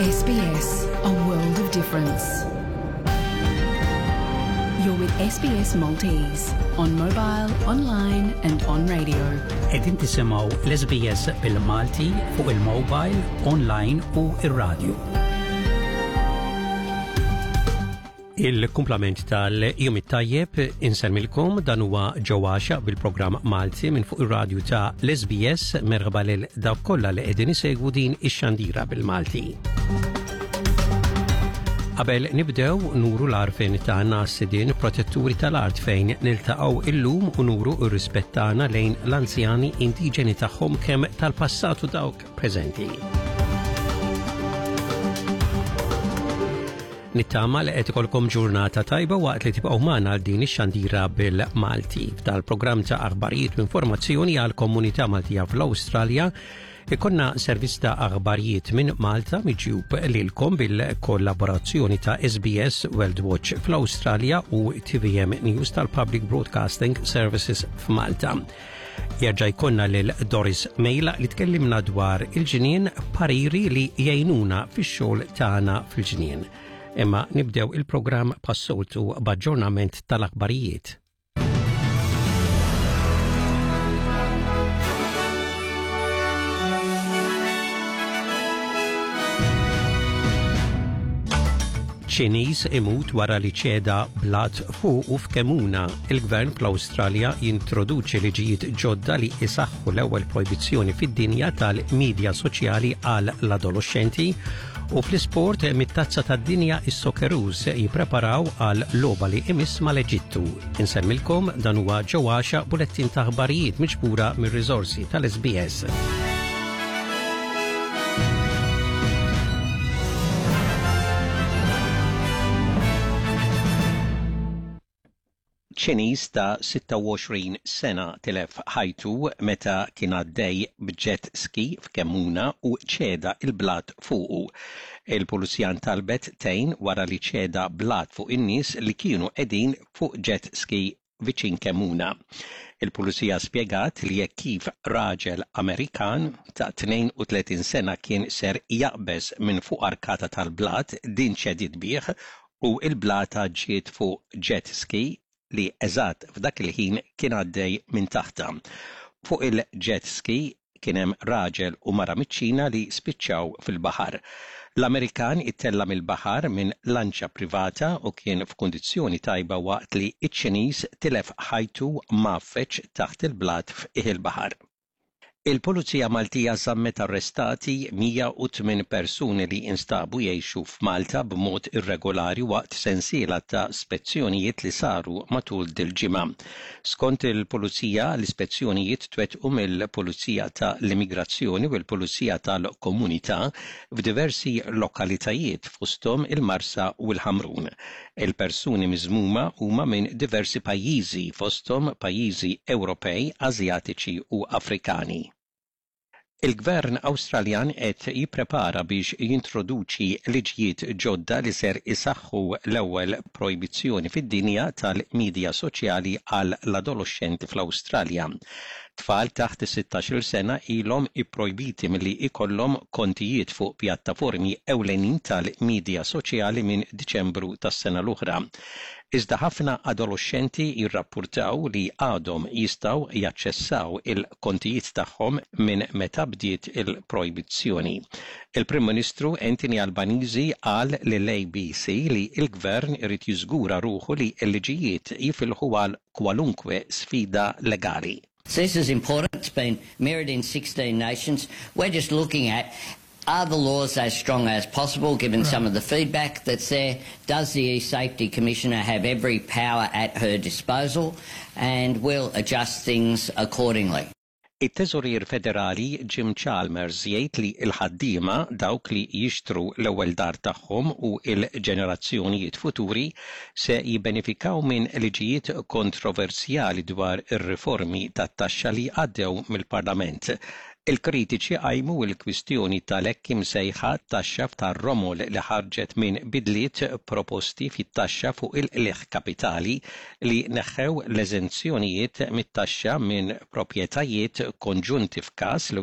SBS, a world of difference. You're with SBS Maltese on mobile, online and on radio. Qegħdin tisimgħu l-SBS bil-Malti fuq il-mobile, online u ir-radio. Il-kumplament tal-jum it-tajjeb insemmilkom dan huwa ġewwaxa bil-programm Malti minn fuq ir-radju ta' l-SBS merħba lil dawk kollha li qegħdin isegwu din ix-xandira bil-Malti. Qabel nibdew nuru l-arfin tagħna sidien protetturi tal-art fejn niltaqgħu illum u nuru r-rispett tagħna lejn l-anzjani indiġeni tagħhom kemm tal-passat u dawk preżenti. Nittama li qed ikolkom ġurnata tajba waqt li tibqgħu magħna għal din ix-xandira bil-Malti. F'dal-programm ta' aħbarijiet u informazzjoni għal komunità Maltija fl-Awstralja ikonna servizz ta' aħbarijiet minn Malta miġjub lilkom bil-kollaborazzjoni ta' SBS World Watch fl-Awstralja u TVM News tal-Public Broadcasting Services f'Malta. Jerġa' jkollna lil Doris Mejla li tkellimna dwar il-ġnien pariri li jgħinuna fix-xogħol tagħna fil-ġnien. Imma nibdew il-programm passoltu b'aġġornament tal-aħbarijiet. Ċiniż imut wara li ċeda blat fuqu f'Kemuna. Il-Gvern fl-Awstralja jintroduċi liġijiet ġodda li isaħħu l-ewwel projbizzjoni fid-dinja tal-midja soċjali għal l-adoloxxenti u fl-isport mit-tazza tad-dinja is-Socceroos jippreparaw għal logħba li imiss mal-Eġittu. Insemmilkom dan huwa ġewwaxa bulettin ta' aħbarijiet miġbura mir-riżorsi tal-SBS. Ċiniż ta' 26 sena tilef ħajtu meta kien għaddej b'jet ski f'Kemmuna u ċeda l-blat fuqu. Il-Pulizija ntalbet tgħin wara li ċeda blat fuq in-nies li kienu qegħdin fuq jet ski viċin Kemmuna. Il-Pulizija spjegat li hekk kif raġel Amerikan ta' 32 sena kien ser jaqbeż minn fuq arkata tal-blat din ċediet bih u l-blata ġiet fuq jet ski li eżatt f'dak il-ħin kien għaddej minn taħtha. Fuq il-jet ski kien hemm raġel u mara miċ-Ċina li spiċċaw fil-baħar. L-Amerikan ittella' mill-baħar minn lanċa privata u kien f'kundizzjoni tajba waqt li ċ-Ċiniż tilef ħajtu mgħaffeġ taħt il-blat f'qiegħ il-baħar. Il-Pulizija Maltija żammet arrestati 108 persuni li instabu jgħixu f'Malta b'mod irregolari waqt sensiela ta' spezzjonijiet li saru matul dil-ġimgħa. Skont il-Pulizija, l-ispezzjonijiet twettqu mill-Pulizija ta' l-Immigrazzjoni u l-Pulizija tal-Komunità f'diversi lokalitajiet fosthom il-Marsa u l-Ħamrun. Il-persuni miżmuma huma minn diversi pajjiżi, fosthom pajjiżi Ewropej, Asjatiċi u Afrikani. Il-Gvern Awstraljan qed jipprepara biex jintroduċi liġijiet ġodda li ser isaħħu l-ewwel projbizzjoni fid-dinja tal-midja soċjali għall-adoloxxenti fl-Awstralja. Tfal taħt is-sittax-il sena ilhom ipprojbiti milli jkollhom kontijiet fuq pjattaformi ewlenin tal-midja soċjali minn Diċembru tas-sena l-oħra. Iżda ħafna adoloxxenti jirrappurtaw li għadhom jistgħu jaċċessaw il-kontijiet tagħhom minn meta bdiet il-projbizzjoni. Il-Prim Ministru Anthony Albanese qal lill-ABC li l-Gvern irid jiżgura ruħu li l-liġijiet jifilħu għal kwalunkwe sfida legali. This is important. It's been mirrored in 16 nations. We're just looking at are the laws as strong as possible given right. some of the feedback that's there? Does the e-safety commissioner have every power at her disposal? And we'll adjust things accordingly. It-Teżorier Federali Jim Chalmers jgħid li l-ħaddiema, dawk li jixtru l-ewwel dar tagħhom u l-ġenerazzjonijiet futuri se jibbenefikaw minn liġijiet kontroversjali dwar ir-riformi tat-taxxa li għaddew mill-Parlament. Il-kritiċi qajmu l-kwistjoni tal-hekk imsejħa taxxa tar-romol li ħarġet minn bidliet proposti fit-taxxa fuq il-qligħ kapitali li neħħew l-eżenzjonijiet mit-taxxa minn proprjetajiet konġunti f'każ li.